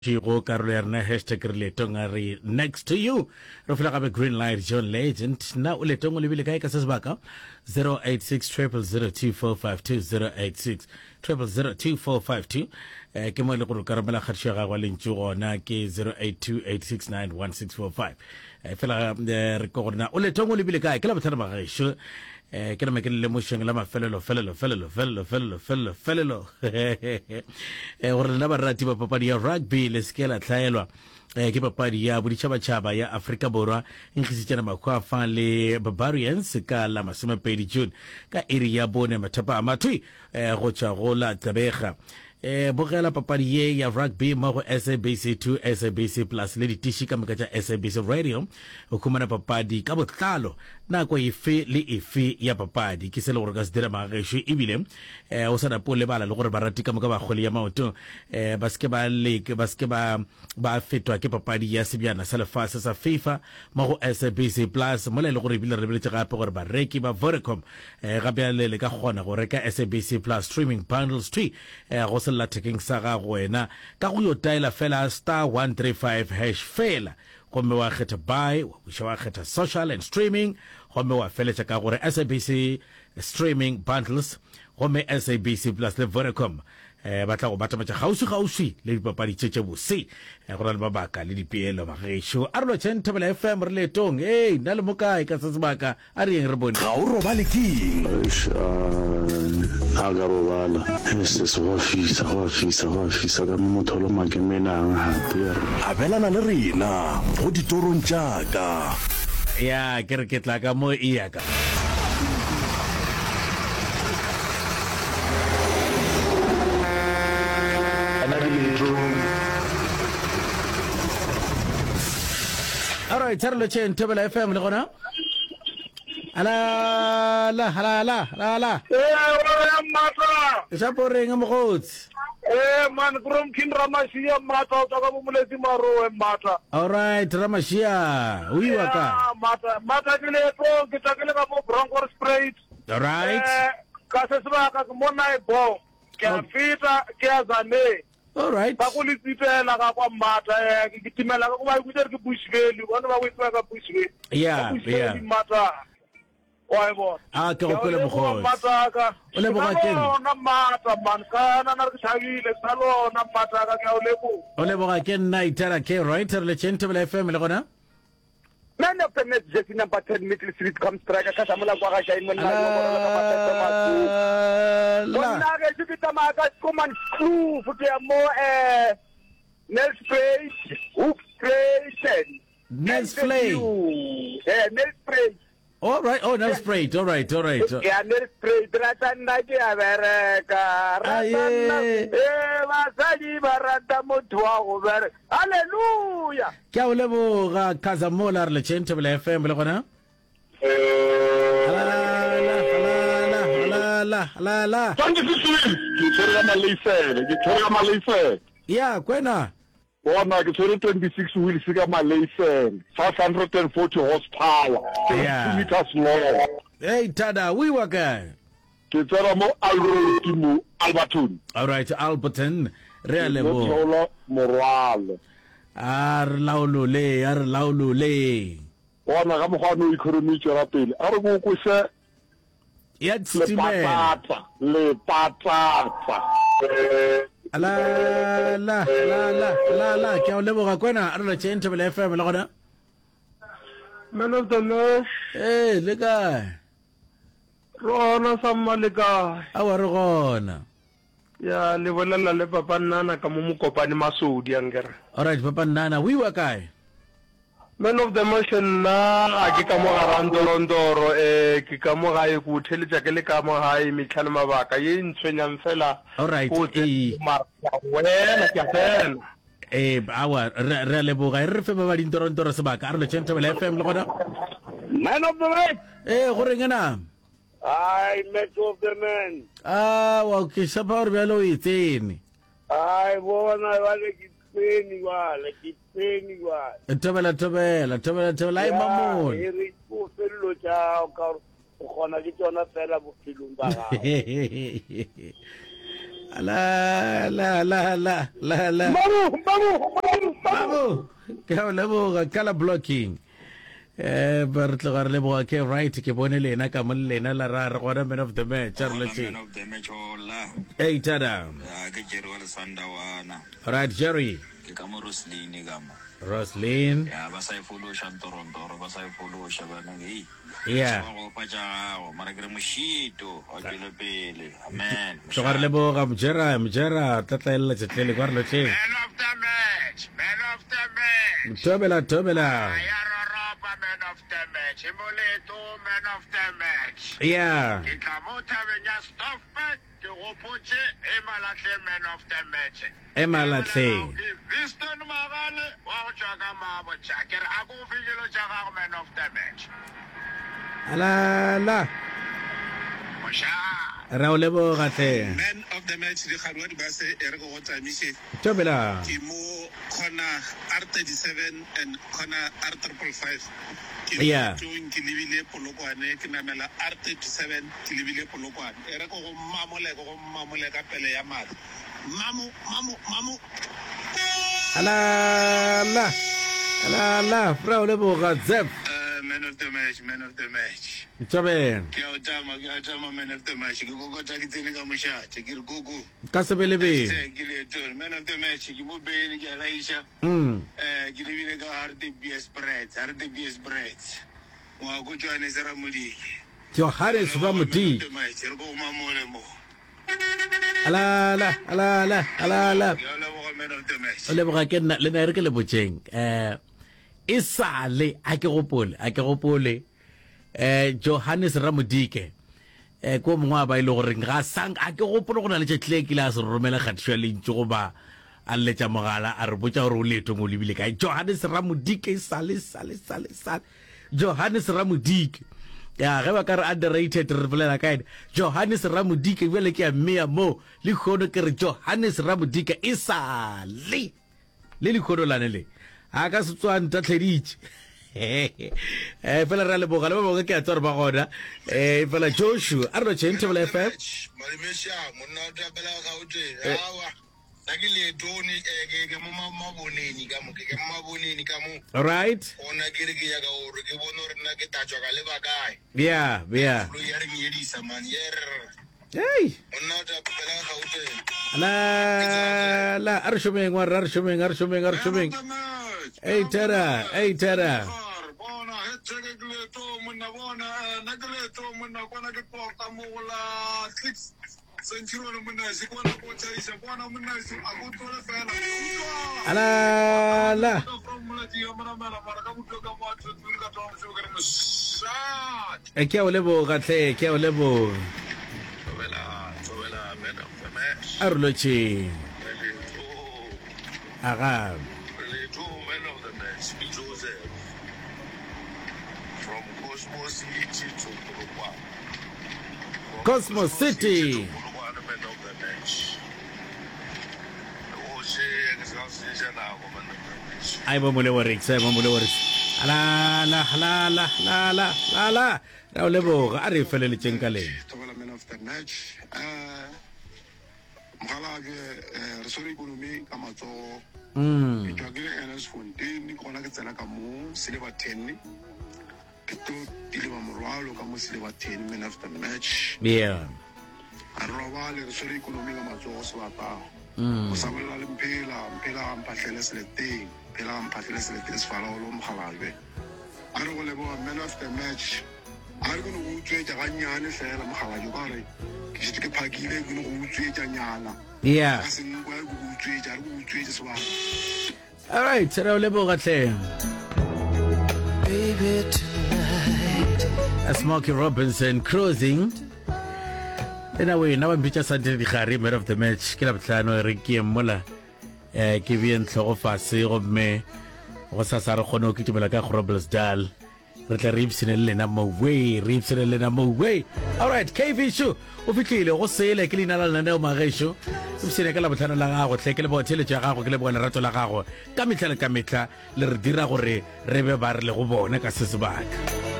Go karolo ya rena hashtag re leetong a re next to you re fela gape green light John Legend na o leetong o lebile kae ka se sebaka 086 0002452 086 0002452 eh, ke mo e le gore o ka romela kgatišo ya gagwe lentšu gona ke 0828691645 eh, fela eh, re ko gore na o leetong o lebile kae ke la botlhano bagešo Eh, ke nama ke le lemošeng la mafelelo felelo felelo felelo felelo felelo felelo eh, gore lena barati ba papadi ya rugby le seke la hlaelwa eh, ke papadi ya boditšhabatšhaba ya Afrika Borwa e nkgisitšana makgwafa le Barbarians ka la masomepedi June ka iri ya bone mathapama thwi eh, go tšwa go la Gqeberha E, bogela papadi ye ya rugby mo go SABC 2, SABC Plus le ditiši ka moka tša SABC Radio. O humana papadi ka botlalo nako efe le efe ya papadi. Ke se le gore o ka se dira magagešo ebile e, o sa nape o lebala le gore barati ka moka ba kgwele ya maoto e, ba se ke ba leke ba se ke ba ba fetwa ke papadi ya sebjana sa lefase sa FIFA mo go SABC Plus mola e le gore ebile re lebeletše gape gore bareki ba Vodacom E, ga bjale le ka kgona go reka SABC Plus streaming bundles thwi e, go sellathekeng sa gago wena ka go yo taela fela star 135 hash fela gomme wa kgetha buy, wa buša wa kgetha social and streaming gomme wa feletša ka gore SABC streaming bundles gomme SABC Plus le Vodacom eh, ba tla go batametša kgauswi-kgauswi le dipapadi tše tše bose. Eh, go na le mabaka le dipeelo bagešo. A re lotšheng Thobela FM re leetong. Ei, nna le mo kae ka se sebaka? A re yeng re bone. Ga o robale keng? Eish, a a ka robala. Eish, go a fisa, go a fisa, go a fisa ka mo motho o loma ke menang gape. Abelana le rena go ditorong tša ka. Ya, ke re ke tla ka mo e ya ka. Ana ke leetong. All right, re lotšheng Thobela FM le gona. Ala la ala la ala la. Ee, wa mmatla. Shapo reng mogotsi? Ee, man, Kromkin Ramashia mmatla o tswa ka bomoletsi Marowe mmatla. All right, Ramashia. O iwa ka. Mmatla, mmatla ke leetong, ke tla ke le ka mo Bronkhorstspruit. All right. Eh, ka se sebaka ke mo Naibo. Ke a feta, ke a Zane. All right. Ba go le tsipela ga kwa Mmata, eh, ke kitimela ka go ba ikutse ke Bush Valley, bona ba go itseba ka Bush Valley. Yeah, Bush yeah. Valley Mmata. Wa e bona. Ah, ke go kwele mokgotsi. Mmata ka. O leboga ke nna. Lona Mmata man, ka na na re ke thabile, sa lona Mmata ka ke a o leboga. O leboga ke nna Itara K right re le Thobela FM le gona. Man of the match jersey number 10 Middle Street com striker ka samola kwa ga Shai monna yo borolo ka mapeto masu. Monna ge ke tsamaya ka Schoeman Kloof ke ya mo eh Nelspruit Hoopspruit Nelspruit eh Nelspruit All right, oh Nelspruit, all right, all right. Ya Nelspruit rata nna ke a bereka. Rata nna eh basadi ba rata motho wa go bereka. Hallelujah. Ke a o leboga Khazamola re letšeng Thobela FM le gona. La la la la. Thank you Siswini. Ke tshwere ka maleisele, ke tshwere ka maleisele. Ya, kwena. Bona ke tshwere 26 wheels ka maleisele, 540 horsepower, Yeah. 2 meters long. Hey Tada, o iwa kae? Ke tsena mo Alroad mo Alberton. All right, Alberton, re a Ke tlo leboga. theola morwalo. A re laolole, a re laolole. Bona ka mokgwa no economy e tšwela pele. A re ko kwese Ya tsitimela. lepatata, lepatata. La la la la la la ke a o leboga kwena a re lotšheng Thobela FM le gona. Man of the match. Ee, le kae? Re gona samma le kae? Aowa re gona. Ya le bolela le papa Nnana ka mo Mokopane Masodi ankere. Alright papa Nnana, o iwa kae? Man of the match nna ga ke ka mo gara Ndorondoro eh ke ka mo gae ke o theletša ke le ka mo gae mehla le mabaka ye e ntshwenyang fela Alright ke o tsena ee. mara ke a wela ke a tsena. Ee aowa re re a leboga e re re fe ba ba dintorontoro sebaka a re lotšheng Thobela FM le gona. Man of the match. Ee go reng na? Ai, match of the man. Aowa ke tshepa gore bjale o e tsene. Ai, bona jwale ke tsene jwale, ke tsene jwale. Thobela thobela thobela thobela ai mamone. E re o fello tša ka gore o kgona ke tšona fela bophelong ba gago. La la la la la la. Mabu, mabu, mabu, mabu. Ke a leboga color blocking. Eh ba re tloga re leboga ke right ke bone lena ka mo le lena la ra re gona man of the match a re lotše. Man of the match hola. Hey tada. Ya ke Jerry wa Lesandawana. Right Jerry. Ke ka mo Roslyn ka mo. Roslyn. Ya ba sa e fološa ntorontoro ba sa e fološa bana hei. Yeah. Ba go fa tša gago mara ke re mošito wa tšwele pele. Amen. Tloga re leboga Mjera Mjera tlatlaelela tšetlele kwa re lotšeng. Man of the match, man of the match. Thobela thobela. Ya roropa man of the match. Moleto man of the match. Yeah. Ke tla mo thabeng ya Stoffberg ke gopotše e Malahleng man of the match. E Malahleng. Ke Viston Magale wa go tšwa ka Mabotja. Ke re a ko fe dilo tša gago man of the match. La la. Mošate. Ra o leboga hle. Man of the match dikgaruwa di base e re ke go tamiše. Thobela. Ke mo corner R37 and corner R555. Ke Yeah. leetong ke lebile Polokwane ke namela R37 ke lebile Polokwane. E re ke go mmamole ke go mmamole ka pele ya madi. Mamo mamo mamo. La la la la ra o leboga Zep. Uh, man of the match, man of the match. Thobela. Ke a o tama, ke a tama man of the match. Ke kokota ke tsene ka mošate, ke re koko. Ka sebelebele. Hashtag ke leetong. Man of the match, ke mo bene, ke a laiša. Mm. Eh, ke lebile ka Hartbeespoort, Hartbeespoort. Ngwako Johannes Ramodike. Johannes Ramodike. Man of the match, re ko go mamole mo. La la la la la la. Ke a leboga man of the match. O leboga ke nna le nna e re ke le botšeng. Eh e sale a ke gopole, a ke gopole. Eh Johannes Ramodike eh ko mongwe a ba ile e gore ga sang a ke gopole go na le tšatši le kile a se romela kgatišo ya lentšu goba a lletša mogala a re botša gore o leetong o lebile kae. Johannes Ramodike sale sale sale sale Johannes Ramodike ya ge ba ka re underrated re bolela ka ene Johannes Ramodike bjale ke a mmea mo lehono ke re Johannes Ramodike e sale le lehono lane le a ka se tswa ntatlheditše eh fela re a leboga le ba bangwe ke a tswa re ba gona eh fela Joshua a re no tšheng Thobela FM Malimesha monna o tapela Gauteng Eh. awa nna ke leetone eh, ke ke mo ma- maboneni ka mo ke ke mo maboneni ka mo right gona ke re ke nyaka gore ke bone gore nna ke tatswa ka leba kae yeah yeah koloi ya re nyedisa man yer hey monna o tapela Gauteng la la a re šomeng wa re a re šomeng a re šomeng a re šomeng ei tera ei tera bona he tsheke ke leeto monna bona eh, nna ke leeto monna kwana ke tota mo go la six centurion monna se kwana ko tšhaisa kwana monna se a ko tlole fela la la from molatsi ya monamela mara ka botlo ka mo a tswetswe ka thoma mošomo ke re mošate Eh, ke a o leboga hle ke a o leboga thobela thobela man of the match a re lotšheng re leeto aga re leeto man of the match ke Joseph from Cosmo City to Polokwane from Cosmo Cosmo City City to Polokwane man of the match go šee ke se ka go senyetša nako man of the match a bo mole works a bo mole works la la la la la la la la ra o leboga a re e feleletšeng ka leng Thobela man of the match eh mogalabje eh, re swere ikonomi ka matsogo mm ke tšwa ke le ns fontein ke gona ke tsena ka mo silver ten ke tlo deliver morwalo ka mo silver ten man of the match yeah a re robale re swere ikonomi ka matsogo sebata mm o sa bolela le mphela mphela ga mphahlele seleteng mphela ga mphahlele seleteng sefalaolo mogalabje a re go leboga man of the match a re ke no go utswetša gannyane fela mogalabje ka gore ke šetše ke phakile ke no go utswetša nyana yeah ka senkwa ke go utswetša a re go utswetše sebata All right, re o leboga hle. Baby, tonight. Smokey Robinson cruising. Ena wena ba mpitša Sante Digare man of the match ke la bohlano re ke ye mola eh ke bee ntlhogo fase gomme go sasa re kgone go kitimela ka Groblersdal re tle re ipshine le lena mowe re ipshine le lena mowe alright kv sho o fihlile go sele ke leina la lenaneo magešo ipshine ka labohlano la gago hle ke leboga theeletšo ya gago ke leboga lerato la gago ka mehla le ka mehla le re dira gore re be ba re le go bone ka se sebaka.